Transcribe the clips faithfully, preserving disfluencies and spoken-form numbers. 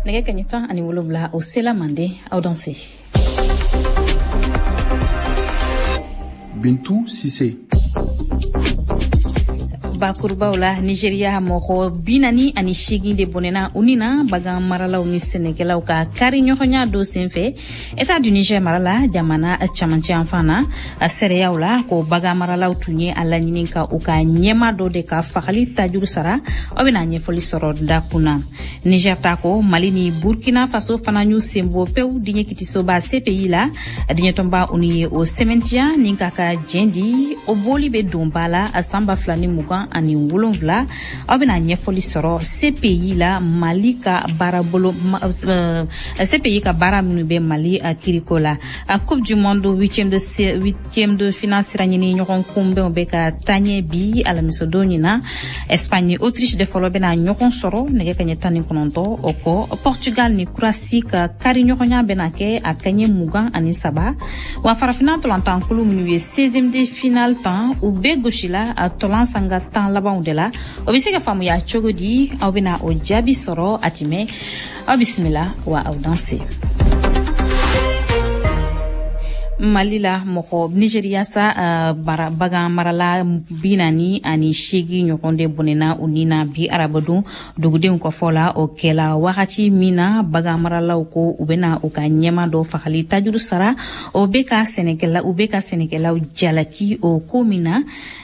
Nɛgɛ kaɲɛ tan ani wolonwula o sela mande aw danse. Bintu Sise. Bakurubaw la, Nigeria mɔgɔ bi naani ani seegin de bɔnɛna u ni na bagan maralaw ni sɛnɛkɛlaw ka kari ɲɔgɔnya dɔ senfɛ État du Niger mara la, jamana camancɛ yanfan na. Seereyaw la ko bagan maralaw tun ye a laɲini ka u ka ɲɛma dɔ de ka fagali tajuru sara. Aw bɛna ɲɛfɔli sɔrɔ dakun na. Niger ta ko Mali ni Burkina Faso fana y'u sen bɔ pewu diɲɛ kitisoba C P I la. Diɲɛtɔnba ONU ye o sɛmɛntiya ni k'a ka jɛn di, o bɔli bɛ don ba la san ba fila ni mugan ani wolonwula. Aw bɛna ɲɛfɔli sɔrɔ C P I la, Mali ka baarabolo, C P I ka baara minnu bɛ Mali kiriko la. Coupe du monde huitième de huitième de finale sira ɲini ɲɔgɔn kunbɛnw bɛ ka taaɲɛ bi alamisadon ɲin na. Espagne ni Autriche de fɔlɔ bɛna ɲɔgɔn sɔrɔ nɛgɛ kaɲɛ tan ni kɔnɔntɔn. O kɔ, Portugal ni Croatie ka kari ɲɔgɔnya bɛna kɛ a kaɲɛ mugan ani saba. Wa farafinna tɔlantankulu minnu ye seizième de finale tan, u bɛɛ gosila a tɔlan sanga tan labanw de la. O bɛ se ka faamuya cogo di? Aw bɛna o jaabi sɔrɔ a tɛmɛ. Aw bisimila wa aw danse. Mali la mɔgɔ Nigeriya sa uh, bara, bagan marala bi naani ani seegin ɲɔgɔn de bɔnɛna u ni na bi arabadon dugudenw ka fɔ la. O kɛla wagati min na bagan maralaw ko u bɛna u ka ɲɛma dɔ fagali tajuru sara. O bɛ ka sɛnɛkɛla u bɛ ka sɛnɛkɛlaw jalaki o ko min na.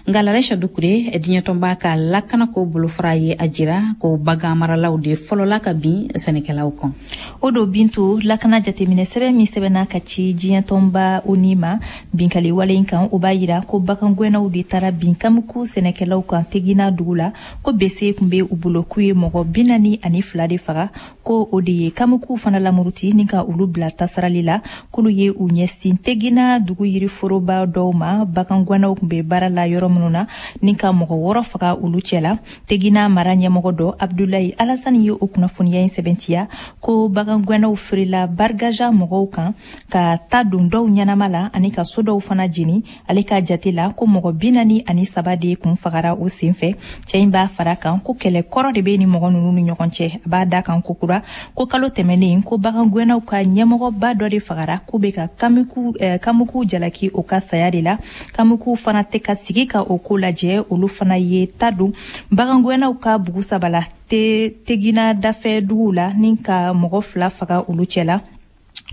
Nka Lalɛsa Dukure, diɲɛtɔnba ka lakanako bolofara ye a jira ko bagan maralaw de fɔlɔla ka bin sɛnɛkɛlaw kan. O don Bintu, lakana jateminɛ sɛbɛn min sɛbɛnna ka ci diɲɛtɔnba ONU ma binkali wale in kan, o b'a yira ko bagangɛnnaw de taara bin Kamuku sɛnɛkɛlaw kan Tegina dugu la, ko bese tun bɛ u bolo, k'u ye mɔgɔ bi naani ani fila de faga, ko o de ye Kamuku fana lamuruti ni ka olu bila tasarali la, k'olu ye u ɲɛsin Tegina dugu yiriforoba dɔw ma, bagangɛnnaw tun bɛ baara la yɔrɔ minnu na, ni ka mɔgɔ wɔɔrɔ faga olu cɛ la. Tegina mara ɲɛmɔgɔ dɔ, Abdulayi Alasani, ye o kunnafoniya in sɛbɛntiya ko bagangɛnnaw feerela Bargaja mɔgɔw kan ka ta don dɔw ɲɛnama la ani ka so dɔw fana jeni. Ale ka jate la, ko mɔgɔ bi naani ani saba de kun fagara o sen fɛ. Cɛ in b'a fara kan ko kɛlɛ kɔrɔ de bɛ ni mɔgɔ ninnu ni ɲɔgɔn cɛ. A b'a da kan kokura ko kalo tɛmɛnen, ko bagangɛnnaw ka ɲɛmɔgɔba dɔ de fagara, k'u bɛ ka kamuku, eh, kamuku jalaki o ka saya de la. Kamuku fana tɛ ka sigi ka o ko lajɛ, olu fana ye ta don bagangɛnnaw ka bugu saba la te Tegina dafɛ duguw la ni ka mɔgɔ fila faga olu cɛ la.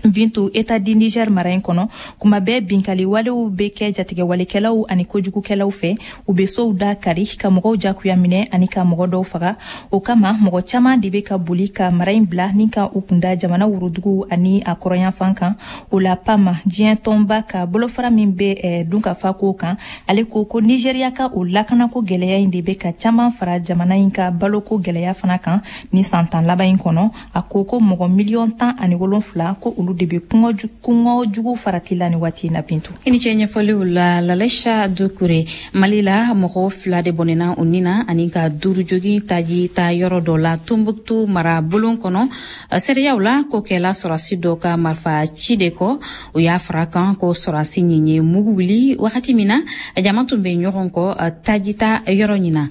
Bintu, État du Niger mara in kɔnɔ, kuma bɛɛ binkali walew bɛ kɛ jatigɛwalekɛlaw ani kojugukɛlaw fɛ. U bɛ sow da kari ka mɔgɔw jagoya minɛ ani ka mɔgɔ dɔw faga. O kama mɔgɔ caman de bɛ ka boli ka mara in bila ni ka u kunda jamana worodugu ani a kɔrɔnyanfan kan. O la, PAM, diɲɛ tɔnba ka bolofara min bɛ eh, dunkafa ko kan, ale ko ko Nigeriya ka o lakanako gɛlɛya in de bɛ ka caman fara jamana in ka baloko gɛlɛya fana kan ni san tan laban in kɔnɔ. A ko ko mɔgɔ miliyɔn tan ani wolonfila, ko olu de bɛ kɔngɔ jugu farati la ni waati na, Bintu. I ni ce ɲɛfɔliw la, Lalɛsa Dukure. Mali la, mɔgɔ fila de bɔnɛna u ni na ani ka duuru jogi taji ta yɔrɔ dɔ la Tombouctou mara bulon kɔnɔ. Seereyaw la, ko kɛla sɔrɔsi dɔ ka marifa ci de kɔ. U y'a fara kan ko sɔrɔsi ɲin ye mugu wuli wagati min na jama tun bɛ ɲɔgɔn kɔ taji ta yɔrɔ ɲin na.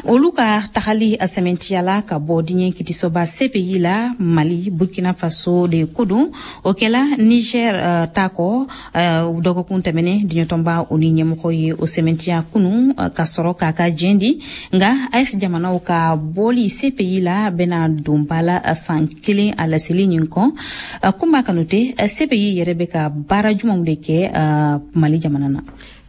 Olu ka tagali a sɛmɛntiyala ka bɔ diɲɛ kitisoba C P I la, Mali, Burkina Faso de ko don. O kɛla Niger uh, ta kɔ uh, dɔgɔkun tɛmɛnen. Diɲɛtɔnba o ni ɲɛmɔgɔ ye o sɛmɛntiya kunu uh, ka sɔrɔ k'a ka jɛn di. Nka A E S jamanaw ka bɔli C P I la bɛna don ba la san kelen a laseli ɲin kɔ. uh, Kunba Kanute, C P I yɛrɛ bɛ ka baara jumanw de kɛ uh, Mali jamana na?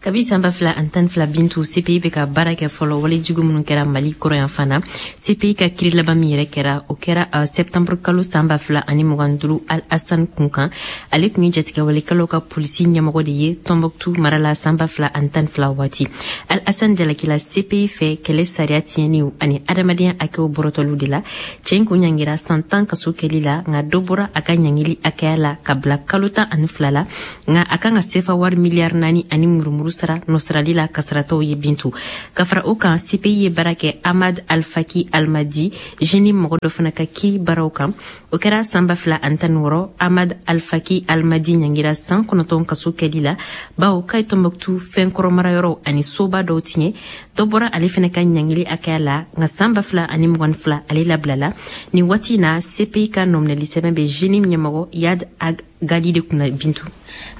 Kabi san ba fila ani tan ni fila, Bintu, C P I bɛ ka baara kɛ fɔlɔ wale jugu minnu kɛra Mali kɔrɔyanfan na. C P I ka kiri laban min yɛrɛ kɛra, o kɛra uh, septembre kalo san ba fila ani mugan duuru, Al Hassan kun kan. Ale tun ye jatigɛwalekɛlaw ka polisi ɲɛmɔgɔ de ye Tombouctou mara la san ba fila ani tan ni fila waati. Al Hassan jalakila C P I fɛ kɛlɛ sariya tiɲɛniw ani adamadenya hakɛw bɔrɔtɔliw de la. Cɛ in kun ɲangira san tan kaso kɛli la, nka dɔ bɔra a ka ɲangili hakɛya la ka bila kalo tan ani fila la, nka a kan ka sefa wari miliyari naani ani murumuru. olu sara nɔsarali la kasaratɔw ye. Bintu, ka fara o kan, C P I ye baara kɛ Ahmad Alfaki Almadi J N I M mɔgɔ dɔ fana ka kiri baaraw kan. O kɛra san ba fila ani tan ni wɔɔrɔ. Ahmad Alfaki Almadi ɲangira san kɔnɔntɔn kaso kɛli la, bawo k'a ye Tɔnbɔkutu fɛnkɔrɔmarayɔrɔw ani soba dɔw tiɲɛ. Dɔ bɔra ale fana ka ɲangili hakɛya la, nka san ba fila ani mugan fila ale labilala. Nin waati na, C P I ka nɔminɛli sɛbɛn bɛ J N I M ɲɛmɔgɔ Iyad Ag Ghali de kunna, Bintu.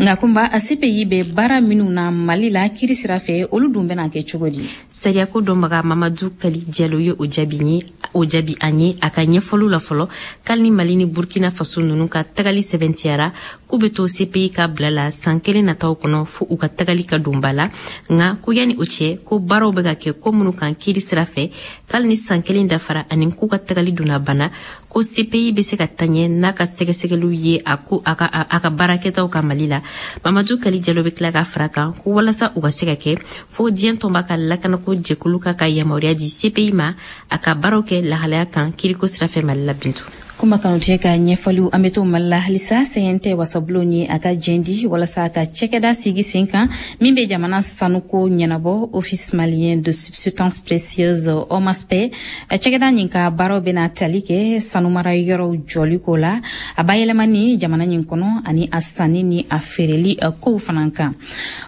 Nka Kunba, C P I bɛ baara minnu na Mali la kiri sira fɛ, olu dun bɛna kɛ cogo di? Sariyako dɔnbaga Mamadu Kali Jalo ye o jaabi ye o jaabi an ye a ka ɲɛfɔliw la. Fɔlɔ, k'ali ni Mali ni Burkina Faso ninnu ka tagali sɛbɛntiyara k'u bɛ to C P I ka bila la san kelen nataw kɔnɔ, fo u ka tagali ka don ba la. Nka ko yanni o cɛ, ko baaraw bɛ ka kɛ ko minnu kan kiri sira fɛ, k'ali ni san kelen dafara ani k'u ka tagali donna bana, ko C P I bɛ se ka taɲɛ n'a ka sɛgɛsɛgɛliw ye a ko a ka a ka baarakɛtaw ka Mali la. Mamadu Kali Jalo bɛ tila ka fara kan ko walasa u ka se ka kɛ, fo diɲɛ tɔnba ka lakanako jɛkulu ka ka yamaruya di C P I ma a ka baaraw kɛ lahalaya kan kiriko sira fɛ Mali la, Bintu. Kuma Kanutɛ ka ɲɛfɔliw. An bɛ to Mali la halisa. C N T wasabulon ye a ka jɛn di walasa ka cɛkɛda sigi sen kan min bɛ jamana sanuko ɲɛnabɔ, Office malien de substance précieuse, OMASP. Cɛkɛda nin ka baaraw bɛna tali kɛ sanumara yɔrɔw jɔli ko la, a bayɛlɛmani jamana nin kɔnɔ, ani a sanni ni a feereli kow fana kan.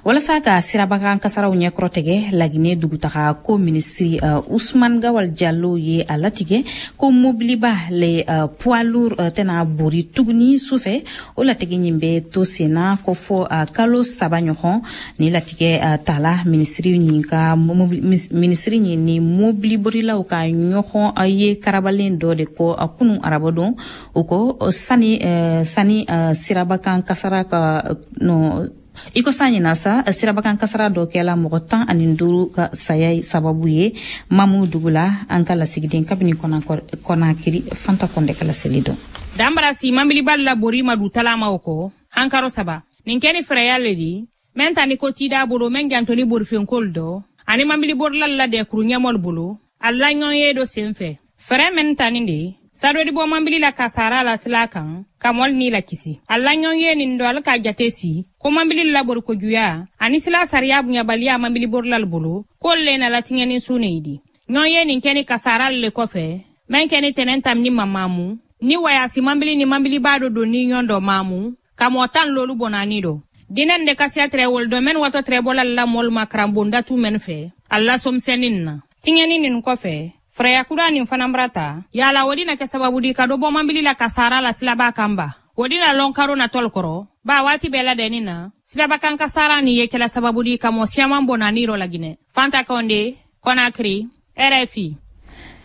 Walasa ka sirabakan kasaraw ɲɛkɔrɔtigɛ, Laginɛ dugutaga ko minisiri Usman Gawal Jalo ye a latigɛ ko mobiliba, les poids lourds, tɛna bori tuguni sufɛ. O latigɛ nin bɛ to senna ko fɔ kalo saba ɲɔgɔn. Ni latigɛ tala minisiri nin ka minisiri nin ni mobiliborilaw ka ɲɔgɔn ye karabalen dɔ de ko kunu arabadon. O ko sani sani sirabakan kasara ka no i ko san ɲina sa, sirabakan kasara dɔ kɛla mɔgɔ tan ani duuru ka saya sababu ye Mamu dugu la. An ka lasigiden kabini Kɔnakiri, Fanta Kɔndɛ ka laseli dɔn. Danbara si mabilibali la bori ma du talamaw kɔ hankaro saba nin kɛ ni fɛrɛya le di mɛn ta ni ko tida bolo mɛn jantoli borifenkol dɔ ani mabiliborilal la dɛkuru ɲɛmɔl bolo a laɲɔgɔn ye do sen fɛ. Fɛrɛ mɛn ta nin de sadodi bɔ mabili la kasara la sila kan ka mɔli ni la kisi. A laɲɔgɔn ye nin dɔ ale ka jate si ko mabili labori kojuya ani sila sariya bonyabaliya mabiliborilal bolo k'olu le nala tiɲɛni su ne di. Ɲɔgɔn ye nin kɛ ni kasara le kɔfɛ mɛn kɛ ni tɛnɛn tam ni mamamu ni wayasi mabili ni mabiliba dɔ don ni ɲɔgɔn dɔ maamu ka mɔgɔ tan lolu bɔnani dɔ dinɛ de kasiya tɛrɛ wolo dɔ mɛn watɔ tɛrɛ bɔla la mɔlu ma karanbondatu mɛn fɛ a lasɔmisɛnnin na. Tiɲɛni nin kɔfɛ, fɛrɛya kura nin fana bara ta yala o dina kɛ sababu di ka dɔ bɔ mabili la kasara la silaba kan ba o dina lɔn karo natɔl kɔrɔ ba waati bɛɛ ladɛnni na silabakan kasara nin ye kɛla sababu di ka mɔ siyaman bɔnani rɔ Laginɛ. Fanta Kɔnde, Kɔnakiri, R F I.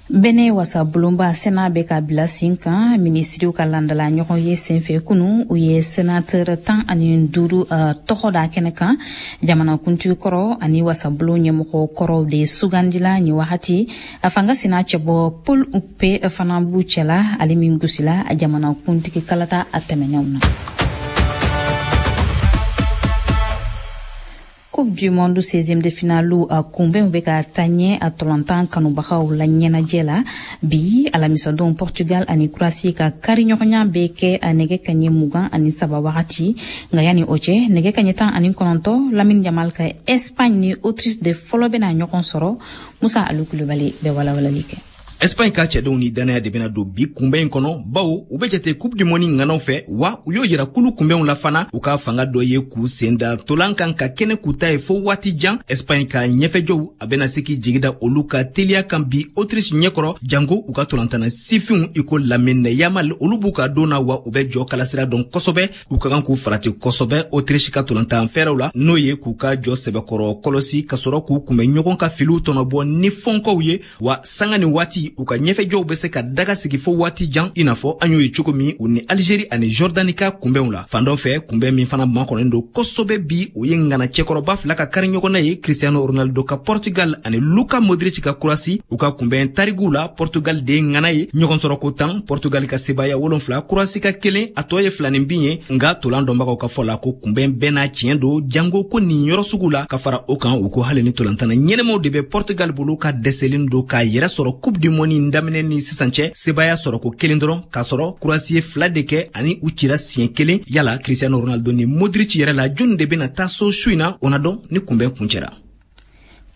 Bɛnɛ wasabulonba Sénat bɛ ka bila sen kan. Minisiriw ka landala ɲɔgɔn ye senfɛ kunu, u ye sénateur tan ani duuru tɔgɔ da kɛnɛ kan. Jamanakuntigi kɔrɔ ani wasabulon ɲɛmɔgɔ kɔrɔw de sugandila nin wagati. A fanga sina cɛbɔ Paul Hounkpè fana b'u cɛla, ale min gosila jamanakuntigi kalata a tɛmɛnenw na. Coupe du monde seizième de finale a kunbɛnw bɛ ka taa ɲɛ a tɔlɔntan kanubagaw la ɲɛnajɛ la. Bi alamisadon, Portugal ani Croatie ka kari ɲɔgɔnya bɛ kɛ a nɛgɛ kaɲɛ mugan ani saba wagati. Nka yanni o cɛ, nɛgɛ kaɲɛ tan ani kɔnɔntɔn, Lamine Yamal ka Espagne ni Autriche de fɔlɔ bɛna ɲɔgɔn sɔrɔ. Musa Alu Kulubali bɛ walawalali kɛ. Espagne ka cɛdenw ni dannaya de bɛna don bi kunbɛn in kɔnɔ, bawo u bɛ jate Coupe du monde ŋanaw fɛ, wa u y'o yira kulu kunbɛnw la fana. U ka fanga dɔ ye k'u sen da tolan kan ka kɛnɛ k'u ta ye fo waati jan. Espagne ka ɲɛfɛjɔw a bɛna se k'i jigi da olu ka teliya kan bi Autriche ɲɛkɔrɔ, janko u ka tolantana sifinw i ko Lamine Yamal. Olu b'u ka don na, wa u bɛ jɔ kalasira dɔn kosɛbɛ. U ka kan k'u farati kosɛbɛ Autriche ka tolantan fɛrɛw la, n'o ye k'u ka jɔ sɛbɛkɔrɔ kɔlɔsi ka sɔrɔ k'u kunbɛn ɲɔgɔn ka filiw tɔnɔbɔ ni fɔnkɔw ye. Wa sanga ni waati, u ka ɲɛfɛjɔw bɛ se ka daga sigi fo waati jan, i n'a fɔ an y'o ye cogo min u ni Alizeri ani Jɔrdani ka kunbɛnw la. Fan dɔ fɛ, kunbɛn min fana makɔnɔnen don kosɛbɛ bi, o ye ŋana cɛkɔrɔba fila ka kari ɲɔgɔnna ye, Cristiano Ronaldo ka Portugal ani Luka Modric ka Croatie. U ka kunbɛn tariguw la, Portugal de ye ŋana ye. Ɲɔgɔn sɔrɔ ko tan, Portugal ka sebaya wolonfila, Croatie ka kelen, a tɔ ye filanin bin ye. Nga tolan dɔnbagaw ka fɔ la ko kunbɛn bɛɛ n'a tiɲɛ don, jango ko nin yɔrɔ sugu la. Ka fara o kan, u ko hali ni tolantana ɲɛnɛmaw de bɛ Portugal bolo, ka dɛsɛlen don k'a yɛrɛ sɔrɔ Coupe du Monde in daminɛ ni sisan cɛ, sebaaya sɔrɔ ko kelen dɔrɔn, k'a sɔrɔ Croatie ye fila de kɛ ani u cira siɲɛ kelen. Yala Cristiano Ronaldo ni Modric yɛrɛ la, jɔnni de bɛna taa so su in na, o na dɔn ni kunbɛn kuncɛra.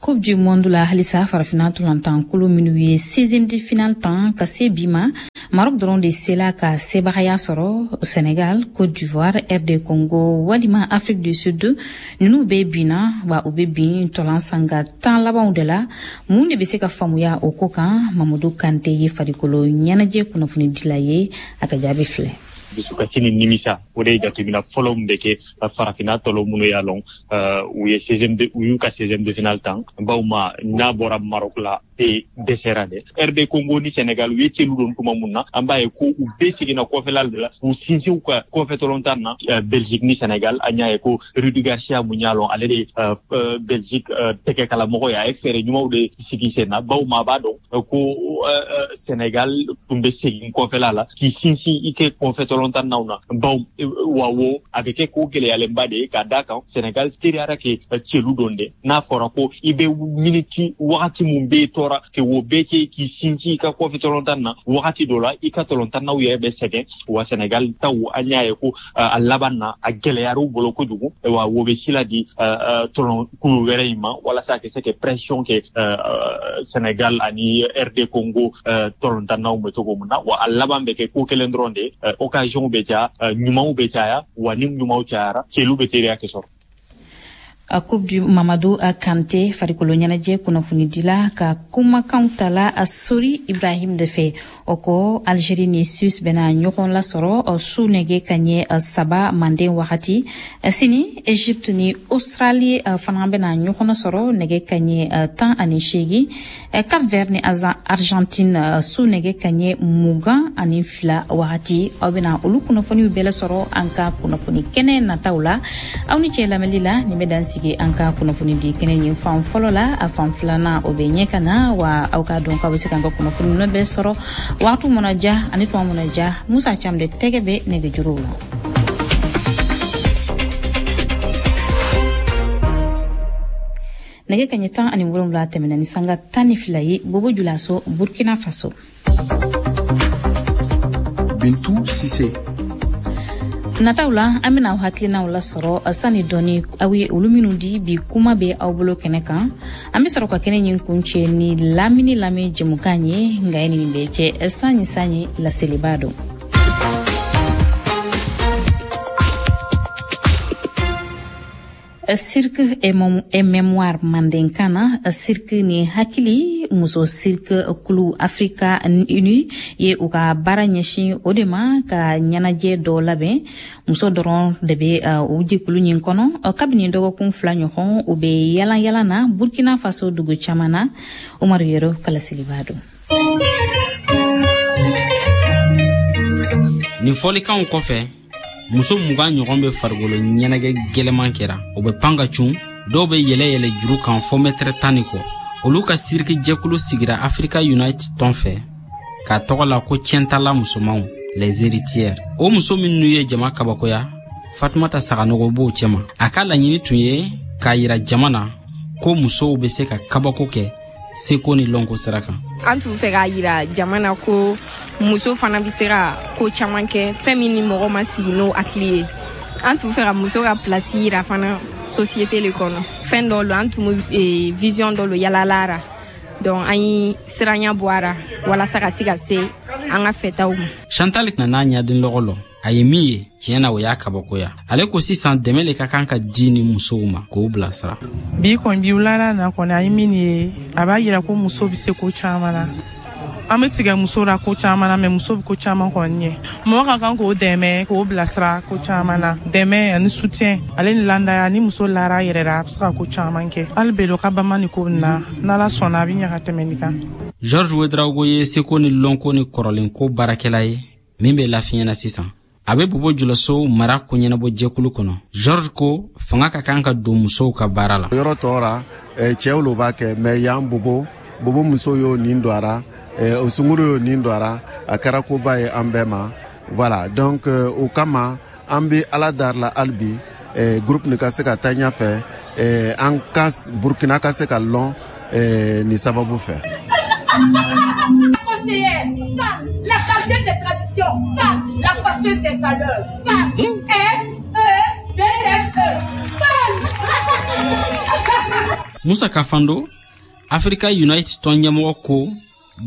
Coupe du Monde la halisa, farafinna ntolatan minnu ye seizième de finale tan ka se bi ma, Maroc dɔrɔn de sela ka sebagaya sɔrɔ. Sénégal, Côte d'Ivoire, R D Congo walima Afrique du Sud, ninnu bɛ binna wa u bɛ bin ntolan sanga tan labanw de la. Mun de bɛ se ka faamuya o ko kan? Mamadu Kante ye farikolo ɲɛnajɛ kunnafonidila ye, a ka jaabi filɛ. Dusukasi ni nimisa, o de ye jateminɛ fɔlɔ min bɛ kɛ farafinna tɔlɔ minnu y'a lɔn u ye seizième de u y'u ka seizième de finale tan, bawo ma n'a bɔra Maroc la e dɛsɛra dɛ. R D Congo ni Sénégal, u ye celu don tuma mun na, an b'a ye ko u bɛɛ seginna kɔfɛla de la k'u sinsin u ka kɔfɛ tɔlɔntan na. Belgique ni Sénégal, an y'a ye ko Rudi Garcia mun y'a lɔn ale de Belgique tɛgɛkalamɔgɔ ye, a ye fɛɛrɛ ɲumanw de sigi sen na, bawo ma a b'a dɔn ko Sénégal tun bɛ segin kɔfɛla la k'i sinsin i kɛ kɔfɛ tɔlɔntan naw na, bawo wa wo a bɛ kɛ ko gɛlɛyalenba de ye k'a d'a kan Sénégal teriyara kɛ celu don dɛ. N'a fɔra ko i bɛ miniti wagati mun bɛ tɔɔrɔ ke wo bɛɛ kɛ k'i sinsin i ka kɔfɛ tɔlɔntan na, wagati dɔ la i ka tɔlɔntannaw yɛrɛ bɛ sɛgɛn. Wa Sénégal taw, an y'a ye ko a laban na a gɛlɛyara u bolo kojugu, wa wo bɛ sila di tɔlɔn kulu wɛrɛ in ma walasa a ka se ka pression kɛ Sénégal ani R D Congo tɔlɔntannaw bɛ cogo min na. Wa a laban bɛ kɛ ko kelen dɔrɔn de, occasion bɛ caya, ɲumanw bɛ caya, wa ni ɲumanw cayara, celu bɛ teriya kɛ sɔrɔ. Coupe du Mamadou Kante, farikolo ɲɛnajɛ kunnafonidila ka kumakanw tala a Sori Ibrahim de fɛ. O kɔ, Algérie ni Suisse bɛna ɲɔgɔn lasɔrɔ su nɛgɛ kaɲɛ saba manden wagati. Sini, Égypte ni Australie fana bɛna ɲɔgɔn lasɔrɔ nɛgɛ kaɲɛ tan ani seegin. Cap Vert ni Argentine, su nɛgɛ kaɲɛ mugan ani fila wagati. Aw bɛna olu kunnafoniw bɛɛ lasɔrɔ an ka kunnafoni kɛnɛ nataw la. Aw ni cɛ lamɛnli la, nin bɛ dan sigi an ka kunnafoni di kɛnɛ ɲin fan fɔlɔ la. A fan filanan, o bɛ ɲɛ ka na. Wa aw k'a dɔn k'aw bɛ se k'an ka kunnafoni ninnu bɛɛ sɔrɔ waati mana ja ani tuma mana ja. Musa Cam de tɛgɛ bɛ nɛgɛjuruw la. Nɛgɛ kaɲɛ tan ani wolonwula tɛmɛna ni sanga tan ni fila ye, Bobo Julaso, Burkina Faso. Bintu Sise. Nataw la, an bɛna aw hakilinaw lasɔrɔ sani dɔɔni, aw ye olu minnu di bi kuma bɛ aw bolo kɛnɛ kan. An bɛ sɔrɔ ka kɛnɛ ɲin kuncɛ ni lamini lamɛn jɛmukan ye. Nka ye nin bɛɛ cɛ, sanni sanni laseliba don. Cirque et mémoire, mandenkan na cirque ni hakili, muso cirque kulu Africa Uni ye u ka baara ɲɛsin o de ma ka ɲɛnajɛ dɔ labɛn. Muso dɔrɔn de bɛ o jɛkulu ɲin kɔnɔ. Kabini dɔgɔkun fila ɲɔgɔn, u bɛ yalan yalan na Burkina Faso dugu caman na. Umaru Yero kalaseliba don. Nin fɔlikanw kɔfɛ, muso mugan ɲɔgɔn bɛ farikolo ɲɛnajɛ gwɛlɛman kɛra. O bɛ pan ka cun, dɔw bɛ yɛlɛ yɛlɛ juru kan fɔ mɛtɛrɛ tan ni kɔ. Olu ka siriki jɛkulu sigira Africa Unite tɔn fɛ k'a tɔgɔ la ko tiɲɛtala musomanw, les héritières. O muso minnu ye jama kabakoya, Fatumata Saganogo b'o cɛma. A ka laɲini tun ye k'a yira jama na ko musow bɛ se ka kabako kɛ seko ni lɔnko sira kan. An tun fɛ k'a yira jama na ko muso fana bɛ se ka ko caman kɛ, fɛn min ni mɔgɔ ma sigi n'o hakili ye. An tun fɛ ka muso ka place yira fana société le kɔnɔ. Fɛn dɔ lo, an tun bɛ vision dɔ lo yalala ra, donc an ye siranya bɔ a ra walasa ka se ka se an ka fɛtaw ma. Chantal nana ɲaden lɔgɔ lɔ, a ye min ye, tiɲɛ na, o y'a kabakoya. Ale ko sisan dɛmɛ le ka kan ka di ni musow ma k'o bilasira. Bi kɔni, bi wulada na kɔni, an ye min ye, a b'a yira ko muso bɛ se ko caman na. An bɛ tigɛ muso la ko caman na, mɛ muso bɛ ko caman kɔni ɲɛ. Mɔgɔ ka kan k'o dɛmɛ, k'o bilasira ko caman na. Dɛmɛ ani soutien ale ni landaya, ni muso lara a yɛrɛ la, a bɛ se ka ko caman kɛ. Hali belo ka bama ni ko nin na, n'Ala sɔnna, a bɛ ɲɛ ka tɛmɛ nin kan. Georges Wedraogo ye seko ni lɔnko ni kɔrɔlenko baarakɛla ye min bɛ lafiɲɛ na sisan. A bɛ Bobo Julaso mara koɲɛnabɔ jɛkulu kɔnɔ. George ko fanga ka kan ka don musow ka baara la. Yɔrɔ tɔw ra, cɛw lo b'a kɛ, mɛ yan Bobo Bobo muso y'o nin don a ra, o sunguru y'o nin don a ra, a kɛra koba ye an bɛɛ ma. Voilà, donc o kama an bɛ Ala dari la hali bi groupe nin ka se ka taa ɲɛfɛ, an ka Burkina ka se ka lɔn nin sababu fɛ. conseillère. Femme, la gardienne des traditions. Femme, la passeuse des valeurs. Femme, F E D M E. Femme. Musa Kafando, Africa Unite tɔn ɲɛmɔgɔ ko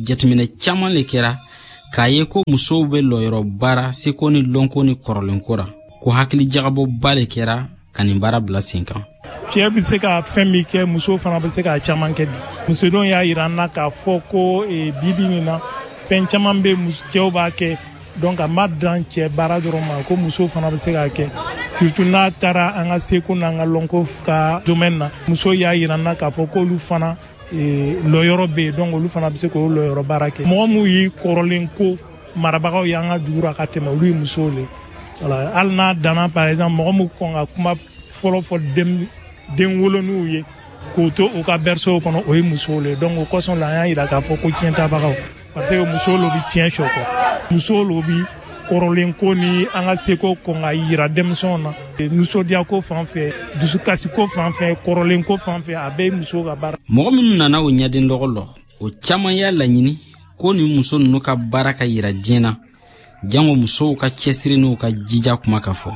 jateminɛ caman le kɛra k'a ye ko musow bɛ lɔyɔrɔ baara seko ni lɔnko ni kɔrɔlenko ra, ko hakili jagabɔba le kɛra ka nin baara bila sen kan. Cɛ bɛ se ka fɛn min kɛ, muso fana bɛ se k'a caman kɛ bi. Musodenw y'a yira an na k'a fɔ ko bi bi nin na fɛn caman bɛ cɛw b'a kɛ, donc a ma dan cɛ baara dɔrɔn ma, ko muso fana bɛ se k'a kɛ, surtout n'a taara an ka seko n'an ka lɔnko ka domaine na. Muso y'a yira an na k'a fɔ k'olu fana lɔyɔrɔ bɛ yen, donc olu fana bɛ se k'o lɔyɔrɔ baara kɛ. Mɔgɔ minnu y'i kɔrɔlen ko marabagaw y'an ka dugu ra ka tɛmɛ, olu ye musow le. Voilà, hali n'a danna par exemple mɔgɔ min kɔn ka kuma fɔlɔ fɔ den den wolonuw ye k'o to u ka berceau kɔnɔ, o ye musow le. Donc o kosɔn la an y'a yira k'a fɔ ko tiɲɛ tabagaw, parce que musow lo bi tiɲɛ sɔ kɔ, musow lo bi kɔrɔlen ko ni an ka seko kɔn ka yira denmisɛnw na. Nisɔndiya ko fan fɛ, dusukasi ko fan fɛ, kɔrɔlen ko fan fɛ, a bɛɛ ye musow ka baara. Mɔgɔ minnu nana o ɲɛden dɔgɔ lɔ, o caman y'a laɲini ko nin muso ninnu ka baara ka yira diɲɛ na, jango musow ka cɛsiri n'u ka jija kuma ka fɔ.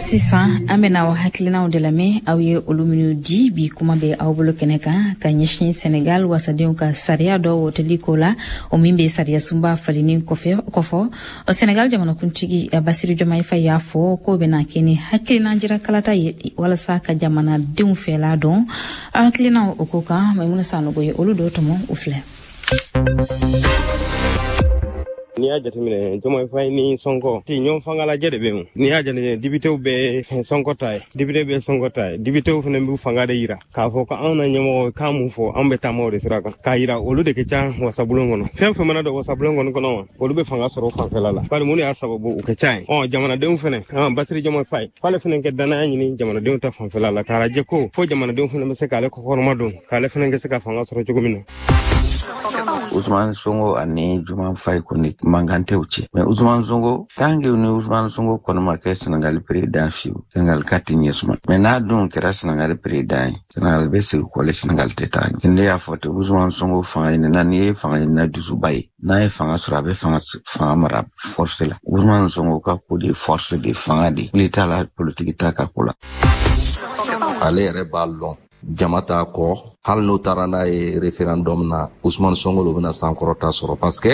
Sisan an bɛna aw hakilinaw de lamɛn, aw ye olu minnu di. Bi kuma bɛ aw bolo kɛnɛ kan ka ɲɛsin Senegal wasadenw ka sariya dɔ woteli ko la, o min bɛ sariya sunba falenni kɔfɛ kɔfɔ. Senegal jamanakuntigi Basiru Diomaye Faye y'a fɔ k'o bɛna kɛ ni hakilina jira kalata ye walasa ka jamanadenw fɛla dɔn. Aw hakilinaw o ko kan, Maimuna Sanogo ye olu dɔw tɔmɔ, o filɛ. N'i y'a jateminɛ, Diomaye Faye ni Sonko ti ɲɔgɔn fangalajɛ de bɛ yen. N'i y'a jateminɛ, députéw bɛ Sonko ta ye, député bɛ Sonko ta ye, députéw fana b'u fanga de yira k'a fɔ ko anw na ɲɛmɔgɔ k'an mun fɔ, anw bɛ taama o de sira kan, k'a yira olu de ka ca wasabulon kɔnɔ. Fɛn fɛn mana don wasabulon kɔni kɔnɔ wa, olu bɛ fanga sɔrɔ fanfɛla la, bari mun de y'a sababu u ka ca yen. Ɔ jamanadenw fana, Basiru Diomaye Faye k'ale fana kɛ danaya ɲini jamanadenw ta fanfɛla la, k'a lajɛ ko fo jamanadenw fana bɛ se k'ale kɔkɔrɔma don, k'ale fana kɛ se ka fanga sɔrɔ cogo min na. Ousmane Sonko ani Diomaye Faye kɔni mankan tɛ u cɛ, mais Ousmane Sonko tant que ni Ousmane Sonko kɔni ma kɛ Senegal président fiyewu, Senegal ka tɛ ɲɛ suma. Mais n'a dun kɛra Senegal président ye, Senegal bɛ segin kɔ, Senegal tɛ taa ɲɛ. Ne y'a fɔ ten, Ousmane Sonko fanga ɲinina, n'i ye fanga ɲinina dusuba ye, n'a ye fanga sɔrɔ a bɛ fanga fanga mara force la. Ousmane Sonko ka ko de force de fanga de, wuli t'a la, politique t'a ka ko la. Ale yɛrɛ b'a lɔn jama t'a kɔ, hali n'o taara n'a ye référendum na, Ousmane Sonko de bɛna sankɔrɔta sɔrɔ, parce que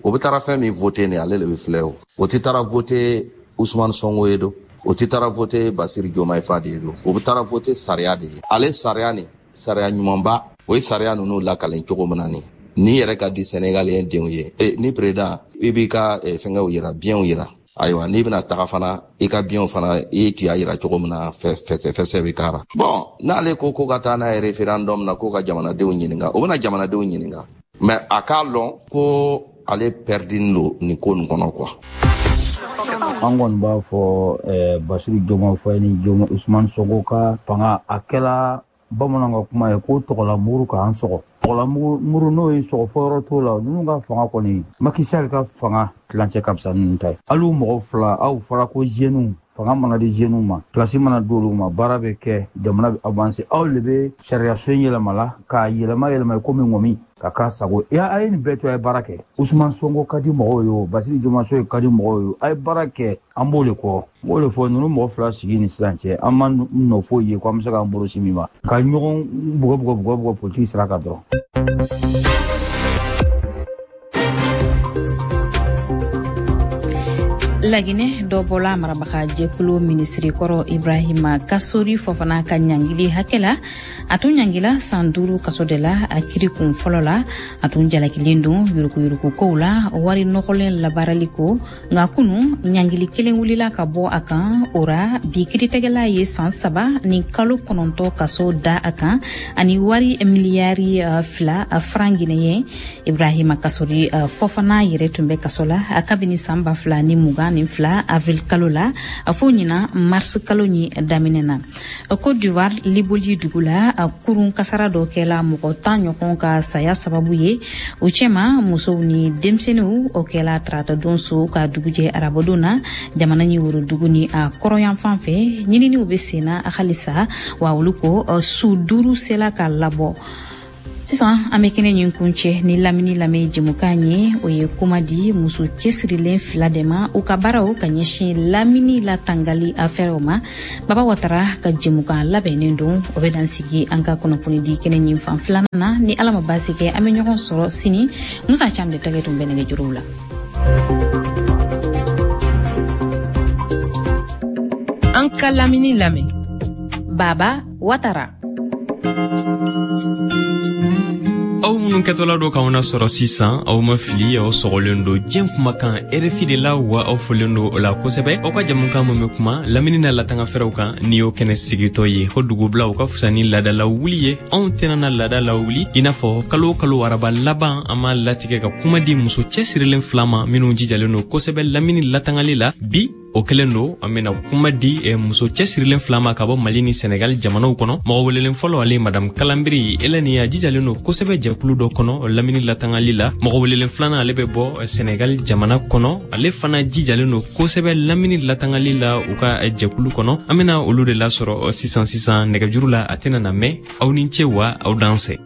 o bɛ taara fɛn min voter ni ale de bɛ filɛ o. O tɛ taara voter Ousmane Sonko ye don, o tɛ taara voter Bassirou Diomaye Faye de ye don, o bɛ taara voter sariya de ye. Ale sariya ni sariya ɲumanba, o ye sariya ninnu lakalen cogo min na ni n'i yɛrɛ ka di Sénégalien denw ye, e ni président i b'i ka fɛngɛw yira, bienw yira. Ayiwa, n'i bɛna taga fana, i ka bienw fana i tun y'a yira cogo min na, fɛsɛ fɛsɛ bɛ k'a la. Bon, n'ale ko ko ka taa n'a ye référendum na, ko ka jamanadenw ɲininka, o bɛna jamanadenw ɲininka, mais a k'a lɔn ko ale perdinen don nin ko nin kɔnɔ quoi. An kɔni b'a fɔ Bassirou Diomaye Faye ni Ousmane Sonko ka fanga, a kɛla bamananw ka kuma ye ko tɔgɔlamuru k'an sɔgɔ. Tɔgɔlamuru n'o ye sɔgɔ fɔ yɔrɔ t'o la. Ninnu ka fanga kɔni, Macky Sall ka fanga tilancɛ ka fisa ninnu ta ye. Hali u mɔgɔ fila, aw fɔra ko jeunes, fanga mana di jeunes ma, place mana d'olu ma, baara bɛ kɛ, jamana bɛ avancer. Aw de bɛ sariya so in yɛlɛma la k'a yɛlɛma yɛlɛma komi ŋɔmi ka k'a sago. A ye nin bɛɛ to, a ye baara kɛ. Ousmane Sonko ka di mɔgɔw ye o, Bassirou Diomaye Faye ka di mɔgɔw ye o, a ye baara kɛ, an b'o de kɔ. N b'o de fɔ, ninnu mɔgɔ fila sigi ni sisan cɛ, an ma nɔ foyi ye ko an bɛ se k'an bolo si min ma, ka ɲɔgɔn bugɔ bugɔ bugɔ bugɔ politique sira kan dɔrɔn. Laginɛ, dɔ bɔla marabaga jɛkulu minisiri kɔrɔ Ibrahima Kasori Fofana ka ɲangili hakɛ la. A tun ɲangila san duuru kaso de la a kiri kun fɔlɔ la. A tun jalakilen don yuruguyurugu kow la, wari nɔgɔlen labaarali ko. Nka kunu ɲangili kelen wulila ka bɔ a kan. O ra bi kiiritigɛla ye san saba ni kalo kɔnɔntɔ kaso da a kan ani wari miliyari fila franc guinéen. Ibrahima Kasori Fofana yɛrɛ tun bɛ kaso la kabini san ba fila ni mugan ni fila avril kalo la fo ɲinan mars kalo ɲi daminɛ na. Côte d'Ivoire Liboli dugu la, kurun kasara dɔ kɛla mɔgɔ tan ɲɔgɔn ka saya sababu ye, o cɛma musow ni denmisɛnninw. O kɛla tarata don so ka dugujɛ arabadon na jamana ni worodugu ni a kɔrɔyanfan fɛ. Ɲininiw bɛ senna halisa, wa olu ko su duuru sela ka labɔ. Sisan an bɛ kɛnɛ ɲin kuncɛ ni lamini lamɛn jɛmukan ye, o ye kuma di muso cɛsirilen fila de ma, u ka baaraw ka ɲɛsin lamini latangali afɛrɛw ma. Baba Watara ka jɛmukan labɛnnen don, o bɛ dan sigi an ka kunnafoni di kɛnɛ ɲin fan filanan na. Ni Ala ma baasi kɛ, an bɛ ɲɔgɔn sɔrɔ sini. Musa Cam de tɛgɛ tun bɛ nɛgɛjuruw la. An ka lamini lamɛn, Baba Watara. Aw minnu kɛtɔla do k'anw nasɔrɔ sisan, aw ma fili, aw sɔgɔlen do diɲɛ kumakan R F I de la, wa aw folen do o la kosɛbɛ. Aw ka jamukan min bɛ kuma lamini na latangafɛrɛw kan, ni y'o kɛnɛ sigitɔ ye ko dugubila o ka fisa ni laada lawuli ye. Anw tɛna na laada lawuli, i n'a fɔ kalo o kalo araba laban an b'a latigɛ ka kuma di muso cɛsirilen fila ma minnu jijalen do kosɛbɛ lamini latangali la. Bi o kelen do, an bena kuma di eh, muso cɛsirilen fila ma ka bɔ Mali ni Senegal jamanaw kɔnɔ. Mɔgɔ welelen fɔlɔ, ale madame Kalanbiri Eleni, a jijalen do kosɛbɛ jɛkulu dɔ kɔnɔ lamini latangali la. Mɔgɔ welelen filanan, ale bɛ bɔ Senegal jamana kɔnɔ, ale fana jijalen do kosɛbɛ lamini latangali la u ka jɛkulu kɔnɔ. An bena olu de lasɔrɔ sisan sisan nɛgɛjuru la, a tɛna na mɛn. Aw ni ce wa aw dansɛ.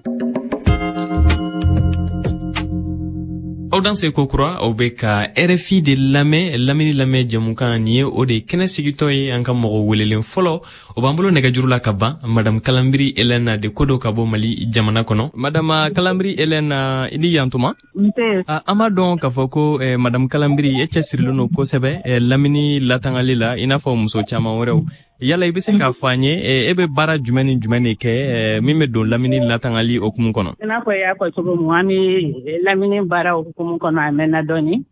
Aw danse kokura, aw bɛ ka R F I de lamɛn, lamini lamɛn jɛmukan nin ye o de kɛnɛ sigitɔ ye. An ka mɔgɔ welelen fɔlɔ, o b'an bolo nɛgɛjuru la ka ban, madame Kalanbiri Elena de ko do ka bɔ Mali jamana kɔnɔ. Madame Kalanbiri Elena, i ni yantuma. An b'a dɔn k'a fɔ ko eh, madame Kalanbiri, e cɛsirilen don kosɛbɛ eh, lamini latangali la, i n'a fɔ muso caman wɛrɛw. Yala i bɛ se k'a fɔ an ye, e bɛ baara jumɛn ni jumɛn de kɛ min bɛ don lamini latangali hukumu kɔnɔ? I n'a fɔ i y'a fɔ cogo min, an bɛ lamini baara hukumu kɔnɔ a mɛnna dɔɔni.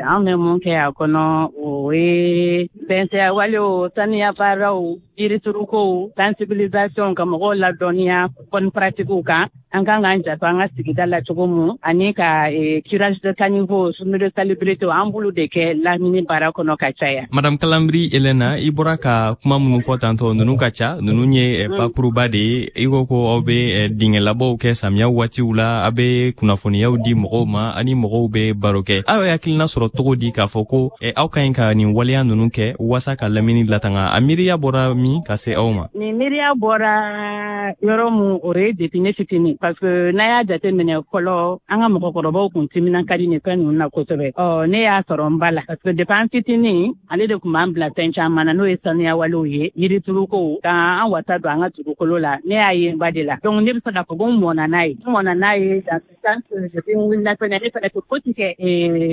An bɛ mun kɛ a kɔnɔ, o ye bɛntɛya walew, saniya baaraw, yiriturukow, sensibilisation, ka mɔgɔw ladɔnniya bonne pratiquew kan. An kan k'an janto an ka sigida la cogo mun, ani ka curage de caniveau, journée de salubrité, an b'olu de kɛ lamini baara kɔnɔ ka caya. Madame Kalanbiri Elena, i bɔra ka kuma minnu fɔ tantɔ, ninnu ka ca, ninnu ye bakuruba de ye. I ko ko aw bɛ dingɛlabɔw kɛ samiya waatiw la, aw bɛ kunnafoniyaw di mɔgɔw ma, ani mɔgɔw bɛ baro kɛ. Aw ye hakilina sɔrɔ cogo di k'a fɔ ko aw ka ɲi ka nin waleya ninnu kɛ walasa ka lamini latanga? A miiriya bɔra min ka se aw ma? Nin miiriya bɔra yɔrɔ mun, o ye depuis ne fitinin, parce que n'a y'a jateminɛ fɔlɔ, an ka mɔgɔkɔrɔbaw kun timinan ka di nin fɛn ninnu na kosɛbɛ. Ɔ ne y'a sɔrɔ n ba la, parce que depuis an fitinin, ale de kun b'an bila fɛn caman na, n'o ye saniya walew ye, yiriturukow, k'an wasa don an ka dugukolo la. Ne y'a ye n ba de la, donc ne bɛ se k'a fɔ ko n mɔnna n'a ye, n mɔnna n'a ye dans ce sens que depuis n wulila fɛnɛ, ne fɛnɛ tɛ fosi kɛ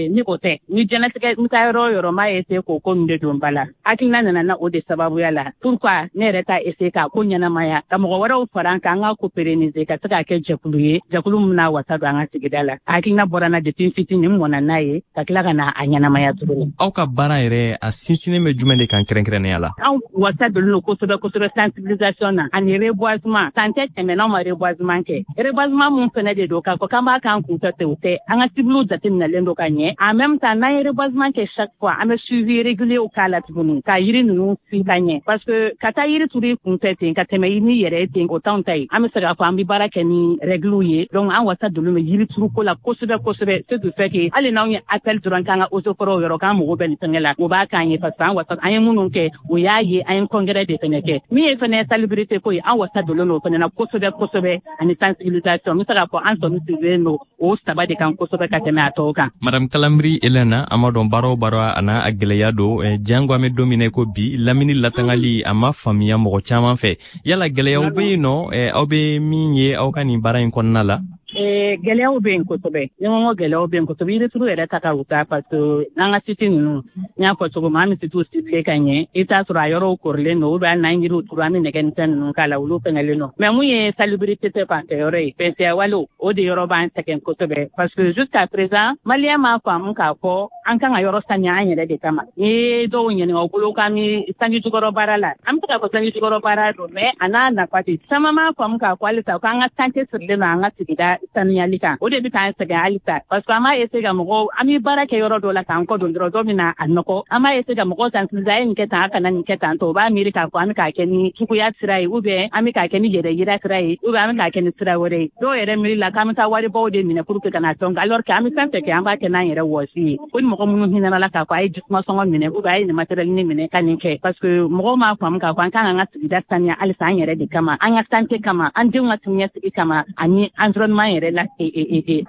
ni o tɛ. Ni diɲɛlatigɛ n taa yɔrɔ o yɔrɔ, n b'a essayer k'o ko ninnu de don ba la. Hakilina nana na o de sababuya la, pourquoi ne yɛrɛ t'a essayer k'a ko ɲɛnamaya, ka mɔgɔ wɛrɛw fara an kan, an ka ko pérenniser, ka se k'a kɛ jɛkulu ye, jɛkulu min bɛna wasa don an ka sigida la. Hakilina bɔra n na depuis n fitinin, n mɔnna n'a ye, ka tila ka na a ɲɛnamaya tuguni. Aw ka baara yɛrɛ, a sinsinnen bɛ jumɛn de kan kɛrɛnkɛrɛnnenya la? Anw wasa donnen don kosɛbɛ kosɛbɛ sensibilisation na ani reboisement. San tɛ tɛmɛ n'anw ma reboisement kɛ. Reboisement mun fɛnɛ de don, k'a fɔ k'an b'a k'an kunfɛ ten, o tɛ. An ka cibles jateminɛlen don ka ɲɛ. En même temps, n'an ye reboisement kɛ chaque fois, an bɛ suivi régulier k'a la tuguni, ka yiri ninnu si ka ɲɛ, parce que ka taa yiri turu i kunfɛ ten ka tɛmɛ n'i yɛrɛ ye ten, o t'anw ta ye. An bɛ se k'a fɔ an bɛ baara kɛ ni règles ye, donc an wasa donnen bɛ yiri turuko la kosɛbɛ kosɛbɛ. Ce qui fait que hali n'anw ye appel dɔrɔn k'an ka eaux et forêts yɔrɔ k'an mago bɛ nin fɛngɛ la, o b'a k'an ye, parce que an wasa an ye minnu kɛ, o y'a ye, an ye congrès de fɛnɛ kɛ. Min ye fɛnɛ salubrité ko ye, an wasa donnen don o fɛnɛ na kosɛbɛ kosɛbɛ, ani sensibilisation. N bɛ se k'a fɔ an sɔmi sigilen don o saba de kan kosɛbɛ ka tɛmɛ a tɔw kan. Madame Kalanbiri Elena, an b'a dɔn baara o baara a n'a a gɛlɛya don, jango an bɛ don min na i ko bi, lamini latangali a ma faamuya mɔgɔ caman fɛ. Yala gɛlɛyaw bɛ yen nɔ, aw bɛ min ye aw ka nin baara in kɔnɔna la? Gɛlɛyaw bɛ yen kosɛbɛ. Ni ko gɛlɛyaw bɛ yen kosɛbɛ, yirituru yɛrɛ ta ka wusa, parce que n'an ka site ninnu, n y'a fɔ cogo min, an bɛ sitew ciblé ka ɲɛ, i bɛ taa sɔrɔ a yɔrɔw korilen don, ou bien hali n'an ye yiriw turu, an bɛ nɛgɛ ni fɛn ninnu k'a la, olu fɛngɛlen don. Mais mun ye salubrité tɛ fanfɛ yɔrɔ ye, bɛntɛya walew, o de yɔrɔ b'an sɛgɛn kosɛbɛ, parce que jusqu'à présent, maliyɛn m'a faamu k'a fɔ an kan ka yɔrɔ saniya an yɛrɛ de kama. N'i ye dɔw ɲininka, u bolo k'an bɛ sanji jukɔrɔ baara la, an bɛ se k'a fɔ sanji jukɔrɔ baara don, mais a n'a nafa tɛ. Caman m'a faamu k'a fɔ halisa k'an ka santé sirilen don an ka sigida saniyali kan, o de bɛ k'an sɛgɛn halisa, parce que an b'a essayer ka mɔgɔw, an bɛ baara kɛ yɔrɔ dɔ la k'an kɔ don dɔrɔn, dɔ bɛ na a nɔgɔ. An b'a essayer ka mɔgɔw sensibiliser, a ye nin kɛ tan, a kana nin kɛ tan tɔ, o b'a miiri k'a fɔ an bɛ k'a kɛ ni juguya sira ye, ou bien an bɛ k'a kɛ ni yɛrɛ yira sira ye, ou bien an bɛ k'a kɛ ni sira wɛrɛ ye. Dɔw yɛrɛ miiri la k'an bɛ taa waribaw de minɛ pour que ka na tɔn, alors que an bɛ fɛn fɛn kɛ, an b'a kɛ n'an yɛrɛ wɔsi ye. Ko ni mɔgɔ minnu hinɛna la k'a fɔ a ye jisuma sɔngɔ minɛ, ou bien a ye nin matériel ni minɛ ka nin kɛ, parce que mɔgɔw m'a faamu k'a fɔ an kan k'an ka sigida saniya halisa an yɛrɛ de kama, an ka santé kama, an denw ka siniɲɛsigi kama, ani environnement yɛrɛ la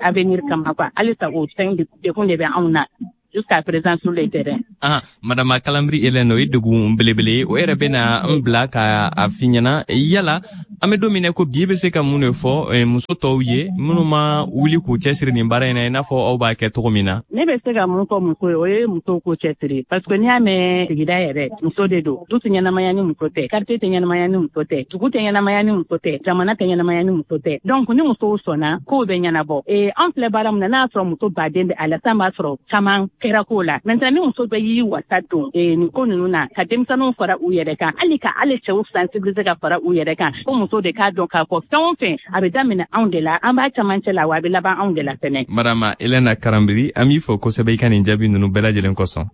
avenir kama quoi. Halisa o fɛn degun de bɛ anw na jusqu'à présent sur le terrain. Ah, Madame Kalambry Hélène, o ye degun belebele ye. O yɛrɛ bɛna n bila ka a f'i ɲɛna, yala an bɛ don min na ko bi, e bɛ se ka mun de fɔ muso tɔw ye minnu ma wuli k'u cɛsiri nin baara in na, i n'a fɔ aw b'a kɛ cogo min na? Ne bɛ se ka mun fɔ muso ye, o ye musow k'u cɛsiri, parce que n'i y'a mɛn sigida yɛrɛ, muso de don. Du tɛ ɲɛnamaya ni muso tɛ, quartier tɛ ɲɛnamaya ni muso tɛ, dugu tɛ ɲɛnamaya ni muso tɛ, jamana tɛ ɲɛnamaya ni muso tɛ. Donc ni musow sɔnna, kow bɛ ɲɛnabɔ. Ee an filɛ baara min na, n'a y'a sɔrɔ muso baden bɛ a la, san b'a sɔrɔ caman kɛra ko la. Maintenant ni muso bɛ y'i wasa don nin ko ninnu na, ka denmisɛnninw fara u yɛrɛ kan, hali ka hali cɛw sensibiliser ka fara u yɛrɛ kan, ko muso de k'a dɔn k'a fɔ fɛn o fɛn a bɛ daminɛ anw de la, an b'a camancɛ la, wa a bɛ laban anw de la fɛnɛ. Madame Hélène Kalambry, an b'i fɔ kosɛbɛ i ka nin jaabi ninnu bɛɛ lajɛlen kosɔn.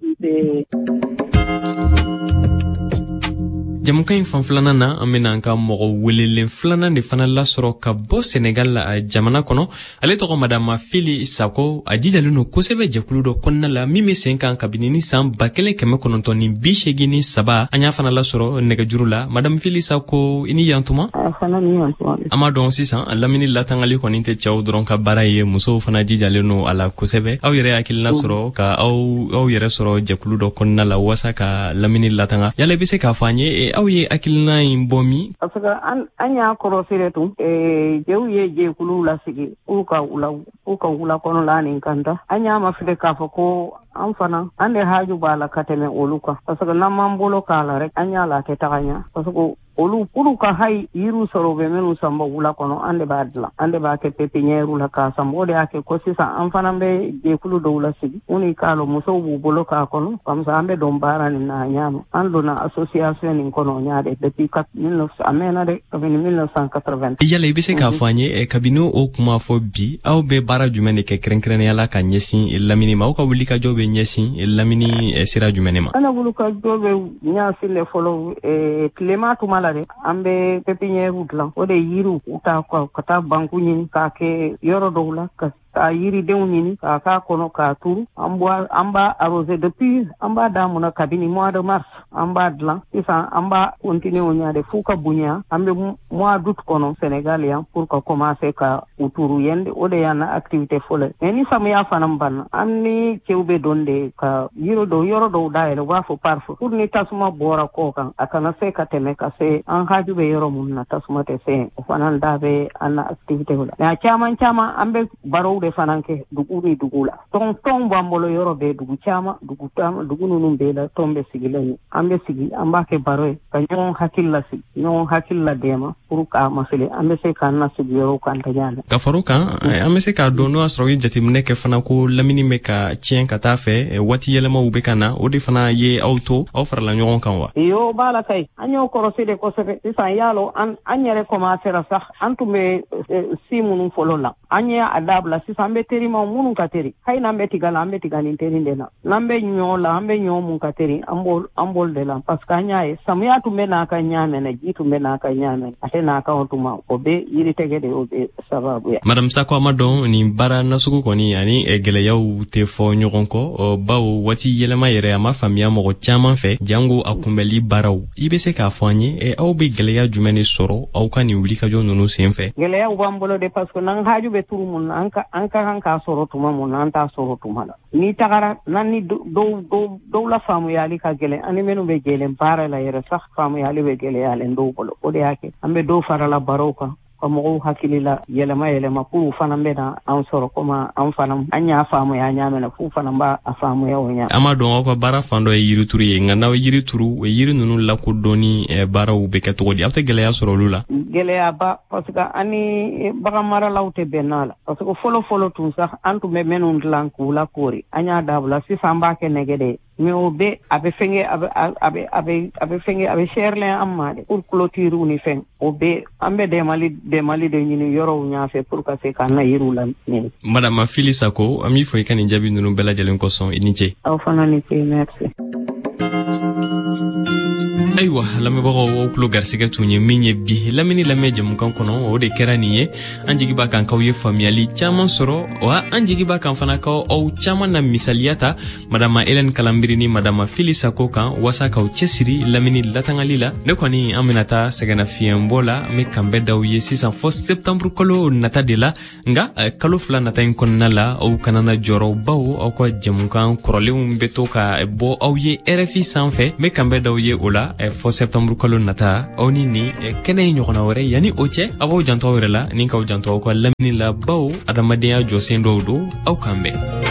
Jamukan in fan filanan na, an bena an ka mɔgɔ welelen filanan de fana lasɔrɔ ka bɔ Senegal la jamana kɔnɔ. Ale tɔgɔ Madama Fili Sako. A jijalen don kosɛbɛ jɛkulu dɔ kɔnɔna la min be sen kan kabini ni san ba kelen kɛmɛ kɔnɔntɔn ni bi seegin ni saba. An y'a fana lasɔrɔ nɛgɛjuru la. Madame Fili Sako, i ni yantuma. An b'a dɔn sisan lamini latangali kɔni tɛ cɛw dɔrɔn ka baara ye, musow fana jijalen don a la kosɛbɛ. Aw yɛrɛ hakilina sɔrɔ ka aw aw yɛrɛ sɔrɔ jɛkulu dɔ kɔnɔna la waasa ka lamini latanga, yala i be se k'a fɔ an ye aw ye hakilina in bɔ min? Parce que an an y'a kɔrɔsi de tun, jɛw ye jɛkuluw lasigi k'u ka wula k'u ka wula kɔnɔla nin kan da. An y'a mafilɛ k'a fɔ ko an fana an de haju b'a la ka tɛmɛ olu kan, parce que n'an m'an bolo k'a la rek, an y'a la a tɛ taga ɲɛ, parce que olu olu ka hayi yiriw sɔrɔ, u bɛ minnu sanbɔ wula kɔnɔ, an de b'a dilan, an de b'a kɛ pépinière la k'a sanbɔ. O de y'a kɛ ko sisan an fana bɛ jɛkulu dɔw lasigi minnu k'a lɔ musow b'u bolo k'a kɔnɔ, comme ça an bɛ don baara nin na a ɲa ma. An donna association nin kɔnɔ o ɲa de depuis a mɛnna dɛ, kabini mille neuf cent quatre-vingt. Yala i bɛ se k'a fɔ an ye kabini o kuma fɔ bi, aw bɛ baara jumɛn de kɛ kɛrɛnkɛrɛnnenya la ka ɲɛsin lamini ma? Aw ka wulikajɔ bɛ ɲɛsin lamini sira jumɛn de ma? An ka wulikajɔ bɛ ɲɛsin de fɔlɔ tilema tuma la dɛ, an bɛ pépinière dilan, o de yiriw u ta ka taa banku ɲini k'a kɛ yɔrɔ dɔw la, ka ka yiridenw ɲini k'a k'a kɔnɔ k'a turu. An b'a an b'a arroser depuis an b'a daminɛ kabini mois de mars, an b'a dilan sisan, an b'a continuer o ɲa de f'u ka bonya. An bɛ mois d'août kɔnɔ Sénégal yan pour ka commencer ka u turu yen, o de y'an na activité fɔlɔ ye. Mais ni samiya fana banna, an ni cɛw bɛ don de ka yiri dɔw yɔrɔ dɔw dayɛlɛ, u b'a fɔ pare-feu, pour ni tasuma bɔra kɔ kan a kana se ka tɛmɛ ka se an haju bɛ yɔrɔ mun na, tasuma tɛ se yen. O fana da bɛ an na activité la. Mais a caman caman an bɛ barow de fana kɛ dugu ni dugu la. Tɔn tɔn b'an bolo yɔrɔ bɛɛ, dugu caman, dugu caman, dugu ninnu bɛɛ la tɔn bɛ sigilen ye. An bɛ sigi, an b'a kɛ baro ye ka ɲɔgɔn hakili lasigi, ɲɔgɔn hakili ladɛmɛ pour k'a masele an bɛ se k'an nasigi yɔrɔw kan ka ɲa. Ka fara o kan, an bɛ se k'a dɔn n'o y'a sɔrɔ u ye jateminɛ kɛ fana ko lamini bɛ ka tiɲɛ ka taa fɛ, waati yɛlɛmaw bɛ ka na, o de fana ye aw to aw farala ɲɔgɔn kan wa? Iyo b'a la kayi, an y'o kɔrɔsi de kosɛbɛ. Sisan y'a lɔ an an yɛrɛ commencera sax, an tun bɛ si minnu fɔlɔ la, an ye a dabila. Sisan an bɛ terimaw minnu ka teri, hali n'an bɛ tiga la, an bɛ tiga ni teri de la, n'an bɛ ɲɔ la, an bɛ ɲɔ mun ka teri, an b'o an b'o de la, parce que an y'a ye samiya tun bɛ n'a ka ɲa mɛnɛ, ji tun bɛ n'a ka ɲa mɛnɛ, a tɛ n'a kan o tuma, o bɛ yiritigɛ de o bɛ sababu ye. Madame Sako, a ma dɔn nin baara nasugu kɔni ani gɛlɛyaw tɛ fɔ ɲɔgɔn kɔ, bawo waati yɛlɛma yɛrɛ a ma faamuya mɔgɔ caman fɛ, jango a kunbɛli baaraw. I bɛ se k'a fɔ an ye aw bɛ gɛlɛya jumɛn de sɔrɔ aw ka nin wulikajɔ ninnu sen fɛ? Gɛlɛyaw b'an bolo de, parce que n'an haju bɛ turu mun na, an ka an ka kan k'a sɔrɔ tuma mun na, an t'a sɔrɔ tuma la. N'i tagara n'an ni dɔw dɔw dɔw la faamuyali ka gɛlɛn, ani minnu bɛ gɛlɛn baara la yɛrɛ sax faamuyali bɛ gɛlɛyalen dɔw bolo. O de y'a kɛ an bɛ dɔw farala barow kan ka mɔgɔw hakili la yɛlɛma yɛlɛma k'u fana bɛ na an sɔrɔ komi an fana an y'a faamuya an y'a mɛn f'u fana b'a faamuya o ɲɛ. An b'a dɔn aw ka baara fan dɔ ye yirituru ye, nka n'aw ye yiri turu, o yiri ninnu lakodɔnni baaraw bɛ kɛ cogo di? Aw tɛ gɛlɛya sɔrɔ olu la? Gɛlɛyaba, parce que an ni bagan maralaw tɛ bɛn n'a la, parce que fɔlɔ fɔlɔ tun sax an tun bɛ minnu dilan k'u lakoori, an y'a dabila. Sisan an b'a kɛ nɛgɛ de ye. Mais o bɛɛ a bɛ fɛnkɛ a bɛ a bɛ a bɛ a bɛ fɛnkɛ a bɛ sɛrilen an ma de pour clôture ni fɛn o bɛɛ an bɛ dɛmali dɛmali de ɲini yɔrɔw ɲɛfɛ pour ka se k'an na yiriw lamini. Madame Fili Sako, an b'i fo i ka nin jaabi ninnu bɛɛ lajɛlen kosɔn, i ni ce. Aw fana ni ce, merci. Ayiwa lamɛnbagaw, aw tulo garisigɛ tun ye min ye bi lamini lamɛn jɛmukan kɔnɔ, o de kɛra nin ye. An jigi b'a kan k'aw ye faamuyali caaman sɔrɔ, wa an jigi b'a kan fana k'aw aw caaman na misaliya ta Madama Hélène Kalanbiri ni Madama Fili Sako kan waasa k'aw cɛsiri lamini latangali la. Ne kɔni an bena taa sɛgɛnnafiɲɛbɔ la, an be kanbɛ d'aw ye sisan fɔ septembre kalo nata de la. Nga kalo fila nata in kɔnɔna la, aw kana na jɔrɔ, bawo aw ka jɛmukan kɔrɔlenw be to ka bɔ aw ye R F I sanfɛ. N be kanbɛ d'aw ye o la fɔ septembre kalo nata, aw ni nin kɛnɛ in ɲɔgɔnna wɛrɛ. Yanni o cɛ, aw b'aw janto aw yɛrɛ la ni k'aw janto aw ka lamini la, bawo adamadenya jɔsen dɔw don. Aw k'an bɛn.